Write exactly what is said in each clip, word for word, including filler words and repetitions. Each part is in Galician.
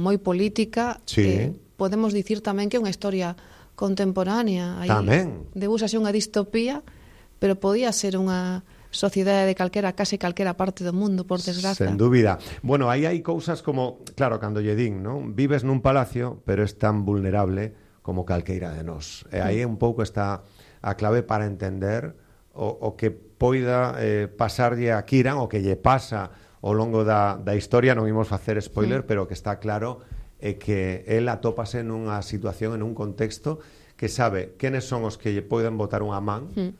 moi política. Sí. Eh, podemos dicir tamén que é unha historia contemporánea. Aí Tamén. debúsase unha distopía, pero podía ser unha sociedade de calquera, case calquera parte do mundo, por desgraza. Sen dúbida. Bueno, aí hai cousas como, claro, cando lle din, non? Vives nun palacio, pero es tan vulnerable como calqueira de nós. E aí un pouco está a clave para entender o, o que poida eh, pasarlle a Kiran, o que lle pasa ao longo da, da historia. Non imos facer spoiler, mm. pero que está claro é que el atópase nunha situación, en un contexto que sabe quenes son os que lle poden botar unha man, mm.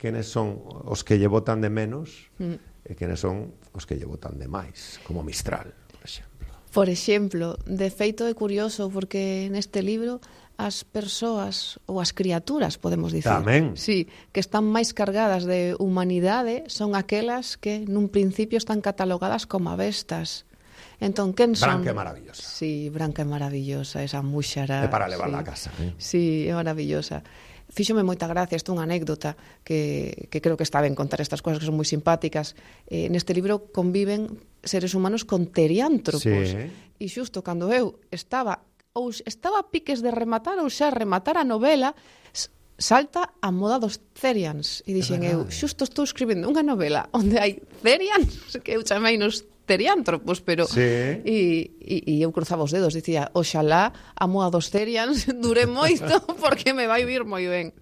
quenes son os que lle botan de menos mm. e quenes son os que lle botan de máis, como Mistral, por exemplo. Por exemplo, de feito é curioso porque neste libro as persoas ou as criaturas, podemos dicir, tamén, sí, que están máis cargadas de humanidade son aquelas que nun principio están catalogadas como avestas. Entón, quen son? Branca é maravillosa. Sí, Branca é maravillosa, esa múxara. É para levarla sí. a casa. Eh? Sí, é maravillosa. Fíxome moita gracia, isto é unha anécdota que, que creo que está ben contar estas cosas que son moi simpáticas. Eh, neste libro conviven seres humanos con teriántropos. Sí. E xusto cando eu estaba ou estaba a piques de rematar ou xa rematar a novela, salta a moda dos Therians. E dixen eu, xusto estou escribindo unha novela onde hai Therians, que eu chamei nos teriántropos, pero sí. e, e, e eu cruzaba os dedos, dicía, oxalá a moa dos Therians dure moito porque me vai vir moi ben.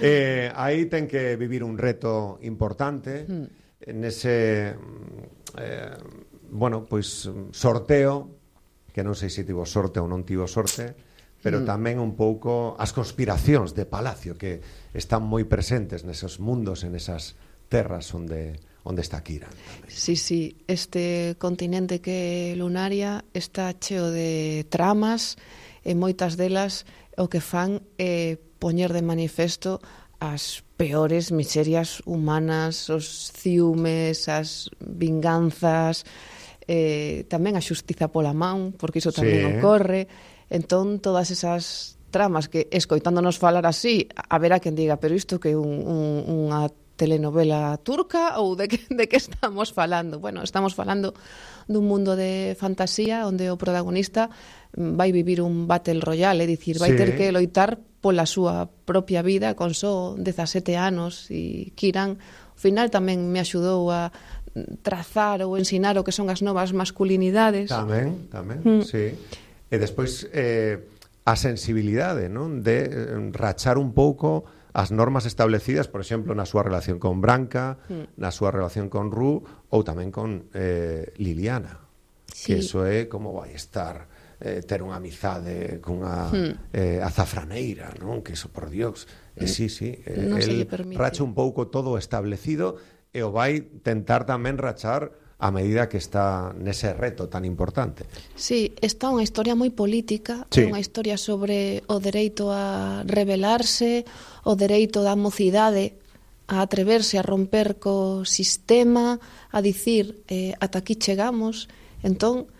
Eh, aí ten que vivir un reto importante mm. nese eh, bueno, pois sorteo, que non sei se tivo sorte ou non tivo sorte, pero mm. tamén un pouco as conspiracións de Palacio que están moi presentes neses mundos, en esas terras onde onde está Kiran. Tamén. Sí, sí, este continente que é Lunaria está cheo de tramas e moitas delas o que fan é poñer de manifesto as peores miserias humanas, os ciúmes, as vinganzas, eh, tamén a xustiza pola man, porque iso tamén sí. ocorre. Entón, todas esas tramas que, escoitándonos falar así, a ver a quen diga, pero isto que é un, un, unha telenovela turca ou de que, de que estamos falando? Bueno, estamos falando dun mundo de fantasía onde o protagonista vai vivir un battle royale, é dicir, vai sí. ter que loitar pola súa propia vida con só dezasete anos, e Kiran, ao final, tamén me axudou a trazar ou ensinar o que son as novas masculinidades. Tamén, tamén, mm. sí. E despois eh, a sensibilidade, non? De eh, rachar un pouco as normas establecidas, por exemplo, na súa relación con Branca, mm. na súa relación con Ru, ou tamén con eh, Liliana. Sí. Que iso é como vai estar eh, ter unha amizade cunha mm. eh, azafraneira, non? Que iso, por Dios. Eh, sí, sí. Eh, non el racha un pouco todo establecido e o vai tentar tamén rachar a medida que está nese reto tan importante. Sí, está unha historia moi política, sí. unha historia sobre o dereito a rebelarse, o dereito da mocidade a atreverse a romper co sistema, a dicir eh, ata aquí chegamos. Entón,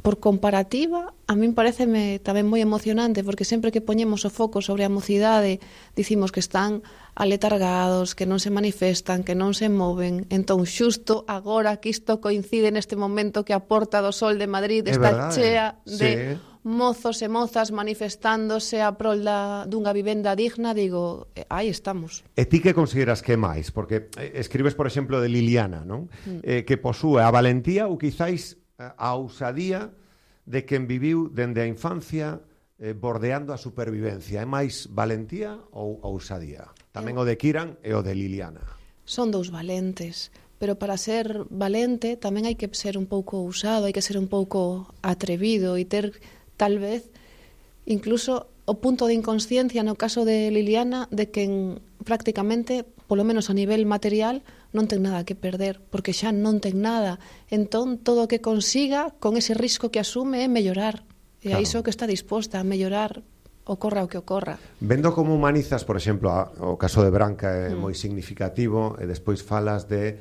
por comparativa, a min pareceme tamén moi emocionante, porque sempre que poñemos o foco sobre a mocidade, dicimos que están aletargados, que non se manifestan, que non se moven. Entón, xusto agora que isto coincide neste momento que a Porta do Sol de Madrid é está verdade. chea de sí. mozos e mozas manifestándose a prol da, dunha vivenda digna, digo, aí estamos. E ti que consideras que máis? Porque escribes, por exemplo, de Liliana, non? Mm. Eh, que posúe a valentía ou quizáis a ousadía de quen viviu dende a infancia eh, bordeando a supervivencia. É máis valentía ou ousadía? Tamén o de Kiran e o de Liliana. Son dous valentes, pero para ser valente tamén hai que ser un pouco ousado, hai que ser un pouco atrevido e ter, tal vez, incluso o punto de inconsciencia no caso de Liliana, de quen prácticamente, polo menos a nivel material, non ten nada que perder, porque xa non ten nada. Entón, todo o que consiga, con ese risco que asume, é mellorar. E claro. A iso que está disposta a mellorar, ocorra o que ocorra. Vendo como humanizas, por exemplo, a, o caso de Branca é mm. moi significativo, e despois falas de,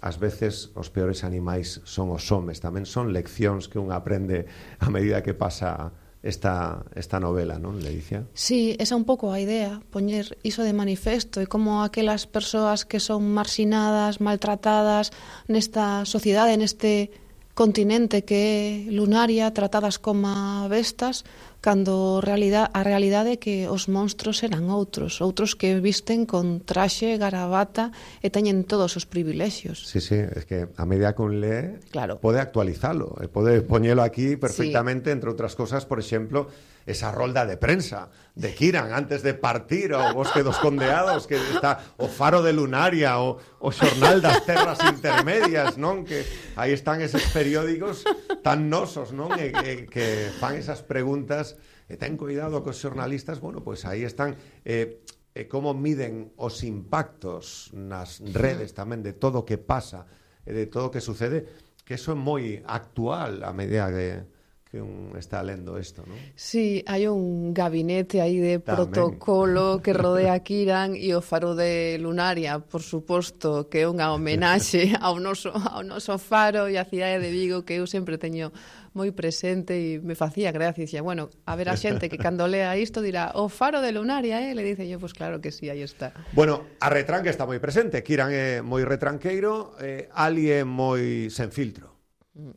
ás veces, os peores animais son os homes. Tamén son leccións que un aprende a medida que pasa esta, esta novela, non, Ledicia? Sí, esa é un pouco a idea, poñer iso de manifesto, e como aquelas persoas que son marxinadas, maltratadas nesta sociedade, neste continente que é Lunaria, tratadas como bestas, cando realidade, a realidade é que os monstros eran outros, outros que visten con traxe, garabata e teñen todos os privilexios. Sí, sí, es que a medida que un lee, claro, pode actualizalo, pode poñelo aquí perfectamente, sí. Entre outras cosas, por exemplo, esa rolda de prensa de Kiran antes de partir ao Bosque dos Condeados, que está o Faro de Lunaria, o, o Xornal das Terras Intermedias, non? Que aí están eses periódicos tan nosos, non? E, e, que fan esas preguntas, e ten cuidado cos xornalistas, bueno, pois pues aí están, eh, eh, como miden os impactos nas redes tamén de todo o que pasa e de todo o que sucede, que eso é moi actual a medida de que un está lendo isto, non? Sí, hai un gabinete aí de tamén protocolo que rodea a Kiran, e o Faro de Lunaria, por suposto, que é unha homenaxe ao noso, ao noso faro e a cidade de Vigo, que eu sempre teño moi presente e me facía gracia. Dicía, bueno, a ver a xente que cando lea isto dirá, o Faro de Lunaria, eh? Le dice yo, pues claro que sí, aí está. Bueno, a retranca está moi presente. Kiran é moi retranqueiro, eh, Ali é moi sen filtro.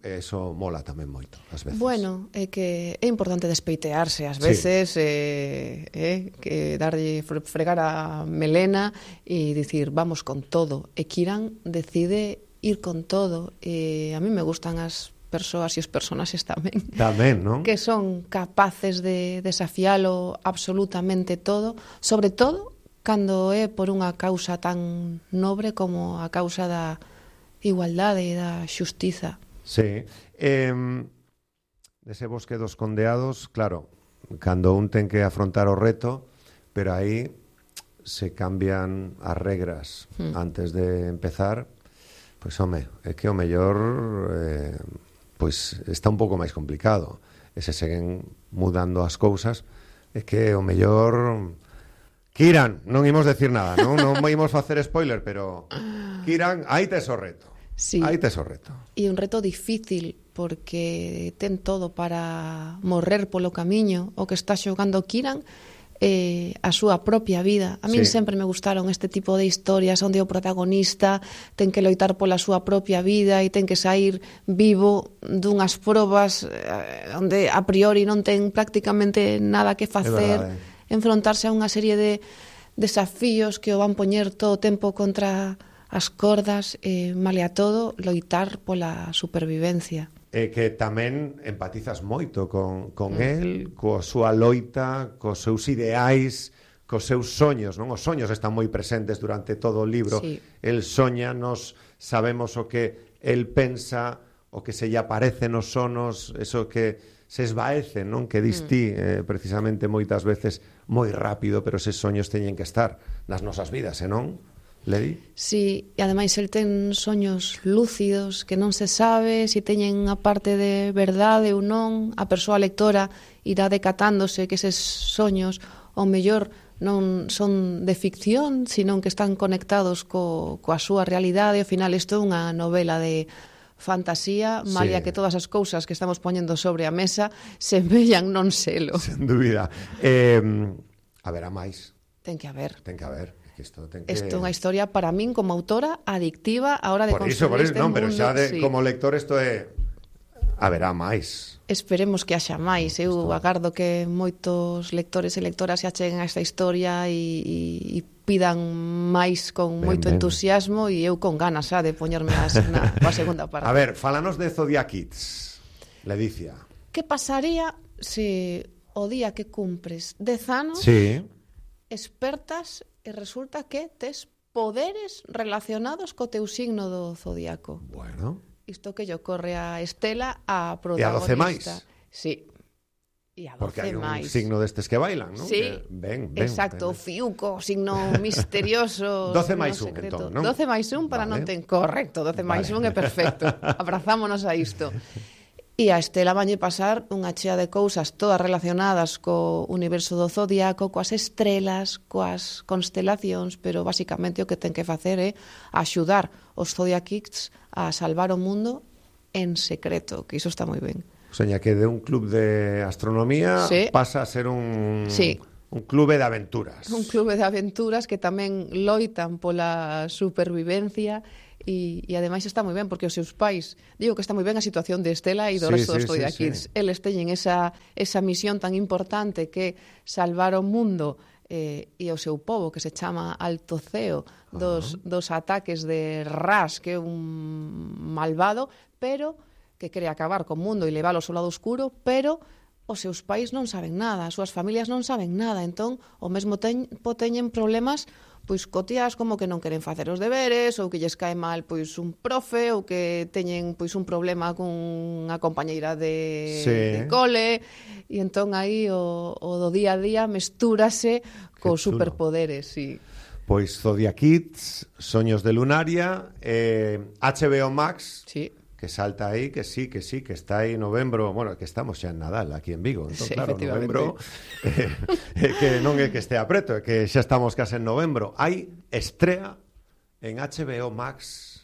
Eso mola tamén moito, ás veces. Bueno, é que é importante despeitearse ás veces, sí. eh, eh, que darlle fregar a melena e dicir, vamos con todo. E Kiran decide ir con todo. E a mí me gustan as persoas e os personaxes tamén. Tamén, non? Que son capaces de desafialo absolutamente todo, sobre todo cando é por unha causa tan nobre como a causa da igualdade e da xustiza. Sí. Eh, dese Bosque dos Condeados, claro, cando un ten que afrontar o reto, pero aí se cambian as regras mm. antes de empezar, pois, home, é que o mellor eh, pois está un pouco máis complicado. E se seguen mudando as cousas, é que o mellor... Kiran, non imos decir nada, non? Non imos facer spoiler, pero Kiran, aí tes o reto. Sí. Aí tes o reto. E un reto difícil, porque ten todo para morrer polo camiño. O que está xogando Kiran eh, a súa propia vida. A min sí. sempre me gustaron este tipo de historias onde o protagonista ten que loitar pola súa propia vida e ten que sair vivo dunhas probas eh, onde a priori non ten prácticamente nada que facer, enfrontarse a unha serie de desafíos que o van poñer todo o tempo contra as cordas, eh, male a todo, loitar pola supervivencia. E que tamén empatizas moito con, con mm. el, coa súa loita, cos seus ideais, cos seus soños, non? Os soños están moi presentes durante todo o libro. Sí. El soña, nos sabemos o que el pensa, o que se lle aparece nos sonos, eso que se esvaece, non? Que distí, mm. eh, precisamente moitas veces moi rápido, pero eses soños teñen que estar nas nosas vidas, e non? Ledi? Sí, e ademais el ten soños lúcidos que non se sabe se si teñen a parte de verdade ou non. A persoa lectora irá decatándose que eses soños ao mellor non son de ficción, sino que están conectados co, coa súa realidade. Ao final isto é unha novela de fantasía, malia sí. que todas as cousas que estamos poñendo sobre a mesa se vellan non selo. Sen dúbida. Eh, haberá máis. Ten que haber. Ten que haber. Isto ten que... Isto é unha historia para min como autora adictiva a hora de por consumir iso, por iso, este non, mundo. pero xa de, sí. como lector isto é haberá máis. Esperemos que haxa máis. Eu isto... agardo que moitos lectores e lectoras se acheguen a esta historia e, e, e pidan máis con ben, moito ben. entusiasmo, e eu con ganas xa de poñerme a, na, a segunda parte. A ver, fálanos de Zodiac Kids, Ledicia. Que pasaría se o día que cumpres dez anos sí. expertas e resulta que tes poderes relacionados co teu signo do zodiaco? Bueno. Isto que lle ocorre a Estela, a protagonista. E a doce máis. Sí. E a doce porque hai un máis. signo destes que bailan, non? Sí. Que ben, ben, exacto, ben. Fiuco, signo misterioso. doce máis un, entón, non? doce máis un para vale. non ten... Correcto, doce máis un é perfecto. Abrazámonos a isto. E a Estela vanlle pasar unha chea de cousas todas relacionadas co universo do zodiaco, coas estrelas, coas constelacións, pero basicamente o que ten que facer é axudar os Zodiac Kids a salvar o mundo en secreto, que iso está moi ben. O sea, que de un club de astronomía sí. pasa a ser un... Sí. Un clube de aventuras. Un clube de aventuras que tamén loitan pola supervivencia e, e ademais está moi ben, porque os seus pais, digo que está moi ben a situación de Estela e do sí, resto sí, dos Toy sí, Kids. sí. Eles teñen esa, esa misión tan importante que salvar o mundo eh, e o seu povo, que se chama Altoceo, dos, uh-huh. dos ataques de Ras, que é un malvado, pero que quere acabar co mundo e leválo ao seu lado oscuro, pero os seus pais non saben nada, as súas familias non saben nada, entón o mesmo tempo teñen problemas pois cotiás como que non queren facer os deberes, ou que lles cae mal pois un profe, ou que teñen pois un problema cunha compañeira de, sí. de cole, e entón aí o, o do día a día mestúrase cos superpoderes, sí. Pois Zodiac Kids, Soños de Lunaria, eh, H B O Max, sí. que salta aí, que sí, que sí, que está aí novembro, bueno, que estamos xa en Nadal aquí en Vigo, entón, sí, claro, novembro, eh, eh, que non é que estea preto, é que xa estamos case en novembro. Hai estrea en H B O Max.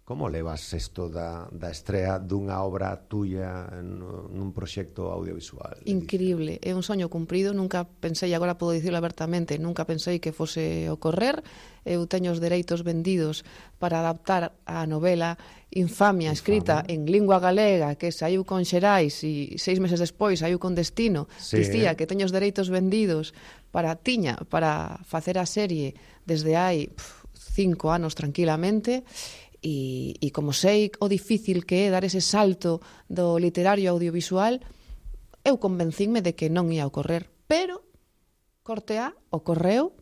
Como levas isto da, da estrea dunha obra tuya en, nun proxecto audiovisual? Increíble, é un soño cumprido, nunca pensei, agora podo dicirlo abertamente, nunca pensei que fose ocorrer. Eu teño os dereitos vendidos para adaptar a novela Infamia, escrita en lingua galega, que saiu con Xerais e seis meses despois saiu con Destino. Sí. Dicía que teño os dereitos vendidos para tiña, para facer a serie desde hai pff, cinco anos tranquilamente. E, e como sei o difícil que é dar ese salto do literario audiovisual, eu convencínme de que non ia ocorrer. Pero, corte A, ocorreu.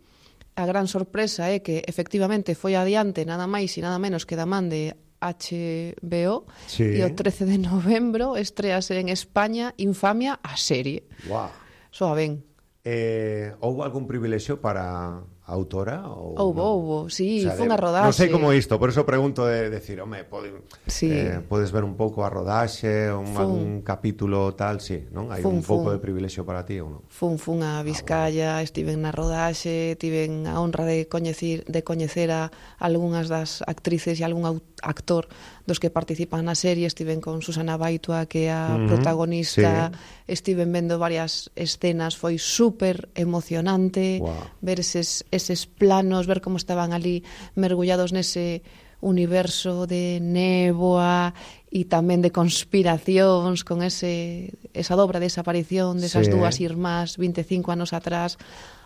A gran sorpresa é que, efectivamente, foi adiante nada máis e nada menos que da man de H B O, sí. E o trece de novembro estrease en España Infamia, a serie. Wow. Soa ben. Eh, houve algún privilexio para a autora? Ou houve, no? houve, sí, o sea, foi unha Non rodaxe. sei como isto, por eso pregunto de decir, home, pode, sí. eh, podes ver un pouco a rodaxe, un, algún capítulo tal, sí, non? Hai fun, un pouco fun. de privilexio para ti ou non? Fun, fun a Vizcaya, ah, bueno. Estiven na rodaxe, tiven a honra de coñecer, de coñecer a algunhas das actrices e algún actor dos que participan na serie. Estiven con Susana Baitua, que é a uh-huh. protagonista, sí. Estiven vendo varias escenas, foi super emocionante, wow. ver eses, eses planos, ver como estaban ali mergullados nese universo de néboa e tamén de conspiracións, con ese, esa dobra de desaparición desas sí. dúas irmás vinte e cinco anos atrás.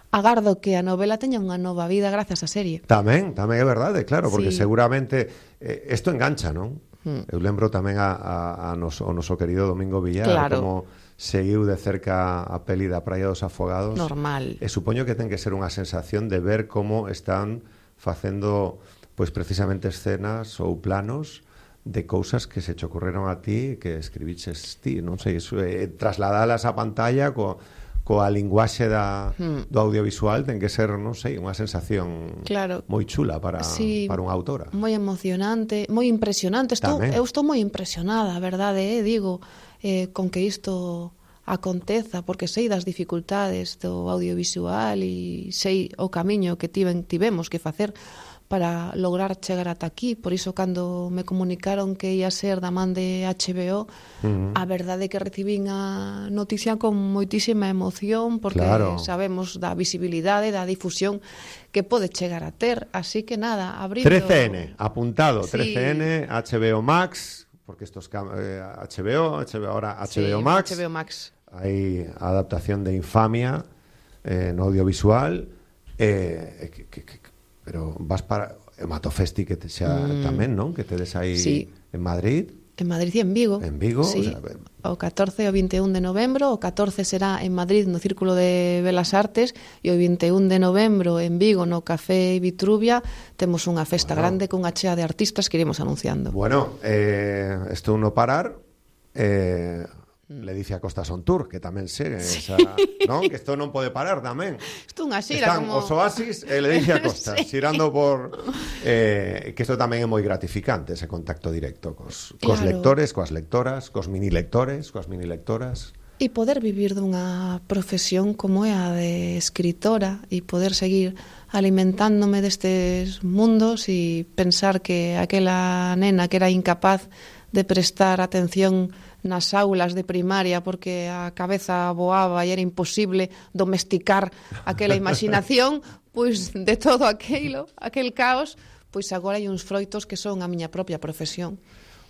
Agardo que a novela teña unha nova vida grazas á serie. Tamén, tamén é verdade, claro, porque sí. seguramente isto eh, engancha, non? Hmm. Eu lembro tamén a, a, a nos, o noso querido Domingo Villar, claro. como seguiu de cerca a peli da Praia dos Afogados. Normal. E supoño que ten que ser unha sensación de ver como están facendo, pois precisamente escenas ou planos de cousas que se che ocorreron a ti, que escribiches ti, non sei, eso, eh, trasladalas á pantalla co coa linguaxe da, hmm. do audiovisual ten que ser, non sei, unha sensación claro. moi chula para, sí, para unha autora. Moi emocionante, moi impresionante. Estou, eu estou moi impresionada, a verdade, eh, digo, eh, con que isto aconteza, porque sei das dificultades do audiovisual e sei o camiño que tiven, tivemos que facer para lograr chegar ata aquí. Por iso, cando me comunicaron que ia ser da man de H B O, uh-huh. a verdade é que recibín a noticia con moitísima emoción, porque claro. sabemos da visibilidade, da difusión que pode chegar a ter. Así que nada, abrindo... trece ene, apuntado, sí. trece ene, H B O Max, porque estos eh, H B O, H B O ahora H B O sí, Max. H B O Max. Hai adaptación de Infamia eh, no audiovisual, eh, que, que, que pero vas para o Matofesti que te xa mm. tamén, non? Que tedes aí sí. en Madrid. En Madrid e en Vigo. En Vigo, sí. o sea, o catorce e o vinte e un de novembro, o catorce será en Madrid no Círculo de Belas Artes e o vinte e un de novembro en Vigo no Café Vitruvia. Temos unha festa bueno. grande cunha chea de artistas que iremos anunciando. Bueno, eh, estou no parar, eh, Ledicia Costa Son Tour, que tamén segue sí. esa, non? Que isto non pode parar tamén. Isto unha xira Están como... os Oasis e Ledicia Costa sí. xirando por eh, que isto tamén é moi gratificante, ese contacto directo cos, cos claro. lectores, coas lectoras, cos mini lectores, coas mini lectoras. E poder vivir dunha profesión como é a de escritora e poder seguir alimentándome destes mundos e pensar que aquela nena que era incapaz de prestar atención nas aulas de primaria porque a cabeza voaba e era imposible domesticar aquela imaginación, pois de todo aquilo, aquel caos, pois agora hai uns froitos que son a miña propia profesión.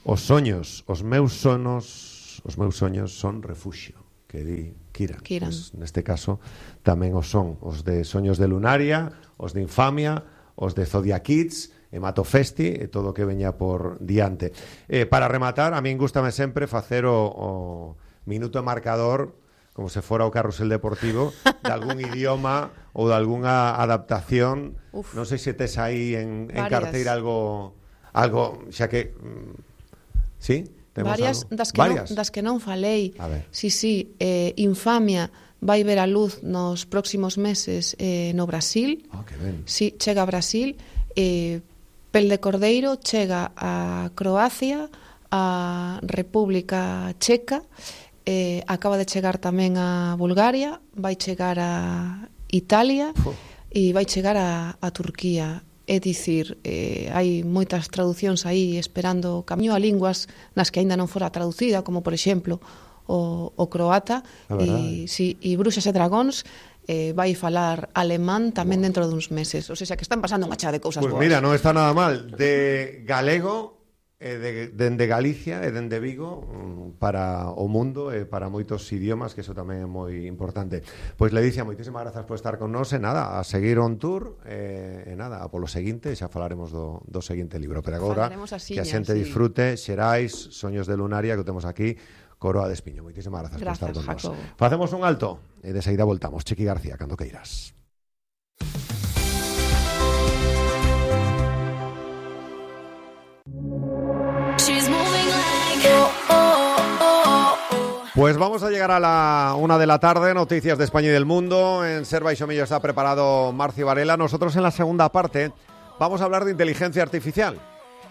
Os soños, os meus sonos, os meus soños son refuxio, que di Kiran. Kiran. Pues, neste caso tamén os son os de Soños de Lunaria, os de Infamia, os de Zodiac Kids, e Mato Festi e todo o que veña por diante. Eh, para rematar, a min gústame sempre facer o, o minuto marcador como se fora o carrusel deportivo de algún idioma ou de algunha adaptación. Uf. Non sei se tes aí en, en carteira algo algo xa que sí, temos varias algo? das que varias non, das que non falei. A ver. Sí, sí, eh, Infamia vai ver a luz nos próximos meses eh, no Brasil. Oh, que ben. Sí, chega a Brasil. Eh, Pel de Cordeiro chega a Croacia, a República Checa, eh, acaba de chegar tamén a Bulgaria, vai chegar a Italia oh. e vai chegar a, a Turquía. É dicir, eh, hai moitas traducións aí esperando camiño a linguas nas que aínda non fora traducida, como por exemplo o, o croata, e, sí, e Bruxas e Dragóns eh, vai falar alemán tamén wow. dentro duns meses. O sea, que están pasando unha chea de cousas pues boas. Mira, non está nada mal. De galego, eh, de, dende Galicia e dende Vigo para o mundo e para moitos idiomas, que eso tamén é moi importante. Pois Ledicia, moitísimas grazas por estar con nós e nada, a seguir on tour e, e nada, a polo seguinte xa falaremos do, do seguinte libro, pero agora que a xente sí. disfrute Xerais, Soños de Lunaria, que temos aquí Coroa de Espiño. Moitísimas grazas por estar con nós. Facemos un alto e de seguida voltamos. Chiqui García, cando queiras. Pues vamos a llegar a la una de la tarde, noticias de España y del mundo. En Ser Baixo Millo está preparado Marci Varela. Nosotros en la segunda parte vamos a hablar de inteligencia artificial.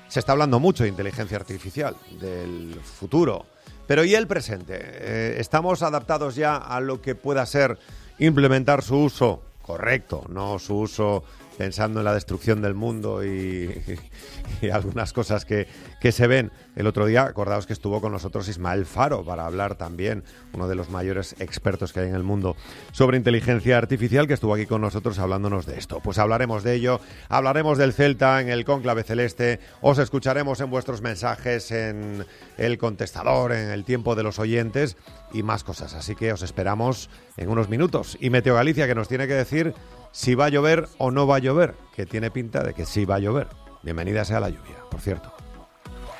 Se está hablando mucho de inteligencia artificial, del futuro, pero ¿y el presente? Eh, ¿Estamos adaptados ya a lo que pueda ser implementar su uso correcto, no su uso pensando en la destrucción del mundo y, y, y algunas cosas que, que se ven? El otro día, acordaos que estuvo con nosotros Ismael Faro para hablar también, uno de los mayores expertos que hay en el mundo sobre inteligencia artificial, que estuvo aquí con nosotros hablándonos de esto. Pues hablaremos de ello, hablaremos del Celta en el Cónclave Celeste, os escucharemos en vuestros mensajes, en el contestador, en el tiempo de los oyentes y más cosas. Así que os esperamos en unos minutos. Y Meteo Galicia, que nos tiene que decir si va a llover o no va a llover, que tiene pinta de que sí va a llover. Bienvenida sea la lluvia, por cierto.